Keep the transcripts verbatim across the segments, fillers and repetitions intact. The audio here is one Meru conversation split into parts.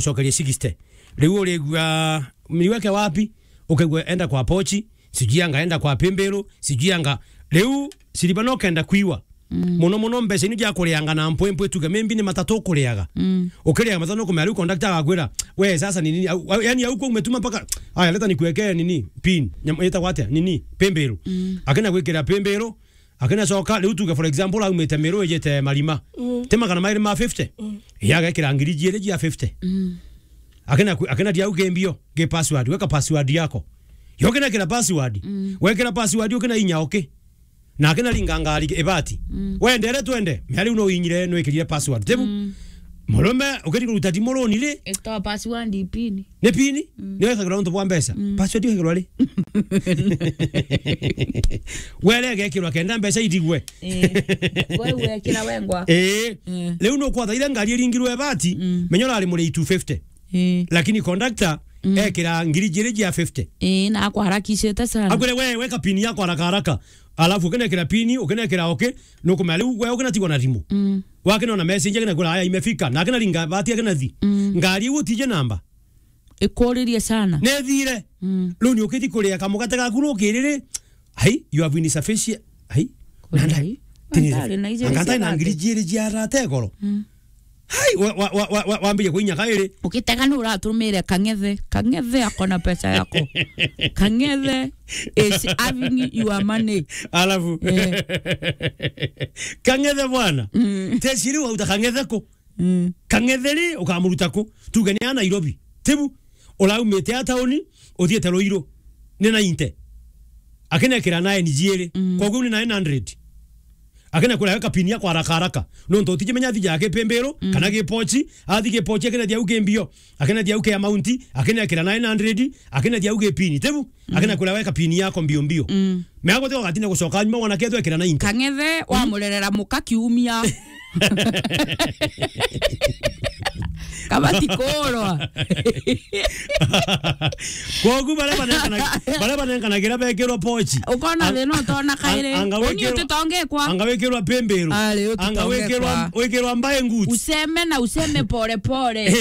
gucokeria sixty. Riu urigua, "Niweke wapi?" Ukaigua, "Enda kwa pochi, sijui anga enda kwa pimbiru, sijui anga." Riu siriba no kenda kwiwa. Mm. Muno muno mbeca inu ja kurianga na mpwempwe, tuge maybe ni matatu ukuriaga. Mm. Ukiriaga matatu nukumenya riu conductor agakwira, "We, sasa ni nini?" Au, au, yani au kwa umetuma mpaka, "Aya, leta nikuwekee nini? Pin." Nyam-, itagwa atia? Nini? Pimbiru. Mm. Akina gwikira pimbiru, akina coka, riu tuge for example, aumite Miru ijite Marima. Mm. Ti magana mairi ma fifty? Mm. Iya, agekira ngiri jiiri jia fifty. Mm. Akina kwi-, akina dia uge mbio, ge password, weka password yako. Yo kina kira password. Mm. Wekira password, ukina inya oke. Na akina ringa ngari ibati. Mm. Wendere twende, mea riu no inyire, no ikirire password. Tebu? Mm. Murume, ukiri kuruta thimu runi ri? Itoa password pin. Ni pin? Mm. Ni wekagirwa nontu bwa mbeca. Mm. Password wekagirwa ri? Were egekirwa kenda mbeca ithigwe. Eh. We wekira wengwa. Eh. Mm. Riu no kwathaire ngari iringirwe ibati, mm, menya urari muri two fifty. Eh. Lakini conductor, mm, ekira ngiri jiiri jia fifty. Eh, na akwaharakishite sana. Akwire, "We, weka pin yako haraka haraka." Alafu ukinekira pin, ukinekira okay, nukumenya riu we ukinatigwa na thimu. Mm. Wakina ona message akina kwira, "Aya, imefika." Na akina ringa bati akina thi. Mm. Ngari iu utije namba. Ikuririe sana. Nethire. Mm. Riu ni ukiti kuria kamugate gaku rukiriri. Ai, you have insufficient. Ai. Kweli, nanda. Ai. Tini. Mandari na ije. Anga ntai na ngiri jiiri jia rate goro. Mm. Hai, wa, wa, wambire kuinya kairi. Ukitega ni uratumire Kang'ethe. Kang'ethe akona pesa yako. Kang'ethe is having your money. Alafu. Eh. Kang'ethe bwana. Mm. Teciri wauta Kang'ethe ku. Mm. Kang'ethe ri ukamuruta ku? Tuge ni a Nairobi. Tibu. Uraumite a tauni, uthiite Ruiru. Ni ninety. Akinekira nine jiiri. Mm. Koguo ni nine hundred. Akina kwira weka pin yako haraka haraka. Nontu utijimenya athi jake pimbiru, mm, kana gipochi, athi gipochi akina thia uke mbio. Akina thia uke amount, akina kira nine hundred, akina thia uke pin. Tebu? Mm. Akina kwira weka pin yako mbio mbio. Mm. Mea guthiga ugatinda gucoka nyuma wona ketho ekira ninety. Kang'ethe, mm, wamurerera muka kiumia. Kabati kurwa. Kogu baria banengana-, baria banenkanagira bekirwa pochi. Ukona thina utona kairi. Anga wikirwa, utitongekwa. Anga wikirwa pimbiru. Ari, anga wikirwa, utitongekwa. Wikirwa mbae nguti. Useme na useme pole pole.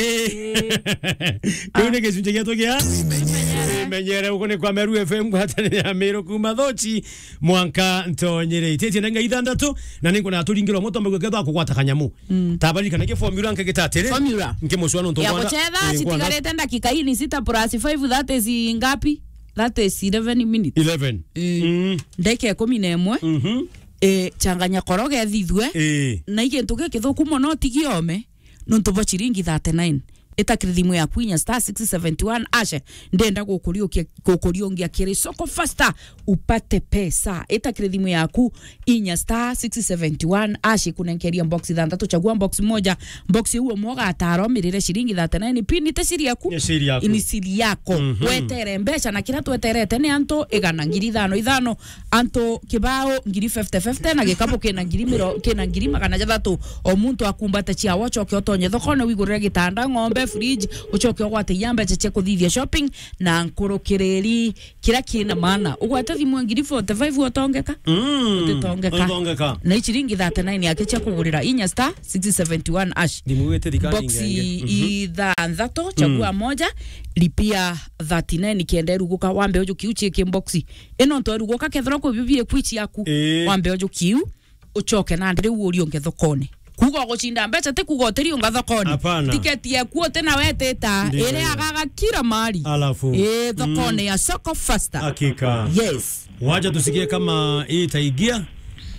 Kiu ni gicunji gietu gia Tuimenyere. Tuimenyere, uko ni kwa Meru F M, ngwataniro ya Miru kuma Thochi mwanka Ntonyere. Ititie na ngai ithanthatu, na ninkwenda turingire umwe twambe gwikethwa kugwata kanyamu. Mm. Tabaririkana ki formula nke gita atiri? Formula. Nke mucwa nontu ya mwana, gucetha, eh, ngwana. Citigarite ndakika ini sita plus five, that is ngapi? That is eleven minutes. Eleven. Eh. Mm. Ndagika ikumi na imwe. Mhm. Eh, changanya koroge thithue. Eh. Na igintu gikithuku mono, tigiome. Nontu bwa ciringi thirty-nine. Ita kiri thimu yaku inya star six seventy one hash. Ndenda gukuriukia, gukuriungia kiri Soko Faster upate pesa. Ita kiri thimu yaku inya star six seventy one hash, ikunenkeria box ithanthatu, chagua box moja. Box iu umwe ugatara umirire ciringi thirty-nine. Pin ite siri yaku. Ni siri yaku. Ni siri yako. Mhm. Wetere mbeca na kira tweterete ni antu igana, ngiri ithano ithano. Antu kibao ngiri fifty fifty na gikabu kina ngiri miro-, kina ngiri magana jathatu. O muntu akumbate ciawe, ucoke utonye thokone wigurire gitanda, ng'ombe, fridge, ucoke ugwate iya mbeca cia kuthithia shopping na nkurukiriri kiria kina maana. Ugwate thimu ya ngiri forty-five utongeka? Mm. Utitongeka. Utongeka. Na i ciringi thirty-nine yake cia kugurira inya star six seventy one hash. Thimu wite thikari. Box ingenge. Mhm. Ithanthatu, chagua, mm, moja, lipia thirty-nine kenda iruguka, wambe ujukiu chieke box. Ino nto rugoka kethira kwi bibie kwichi yaku. Ii. Wambe ujukiu, ucoke nandi riu uriunge thokone. Kuga ugucinda mbeca ti kuga utiriunga thokone. Hapana. Tiketi yaku uti na wetita. Ndio. Iri agaga kila mahali. Alafu. Ii, thokone, mm, ya Soko Faster. Hakika. Yes. Wacha tusikie kama itaingia,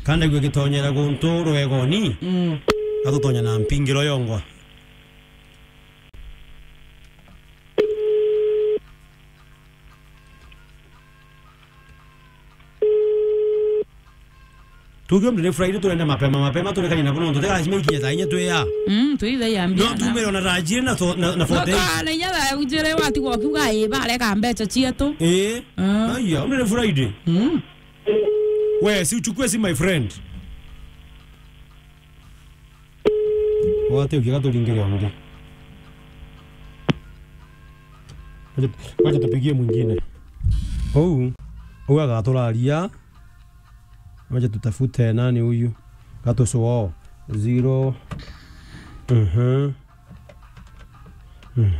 kana igwe gitonyera guntu rwegoni. Mm. Atutonya na mpingiro yongwa. Tuge mtu ni Friday, turende mapema, mapema, turekanie na kuno, tutega lazima ikinye thaa inya twi ya. Mm, twi thaa ya. No, mbiana. Tumire ona rajiri na tho-, na, na forty-eight. No, kana inya thaa ujire watigwa ukiuga, "Ii, barega mbeca cietu." Ii. Ah. Aya, mtu ni Friday. Mm. We, si uchukue simu, my friend. Wate ukiaga turingire ungi. Wacha, wacha tupigie mwingine. Huu, huu agaturaria. Wacha tutafute nani huyu. Gatusuo. Zero. Mhm.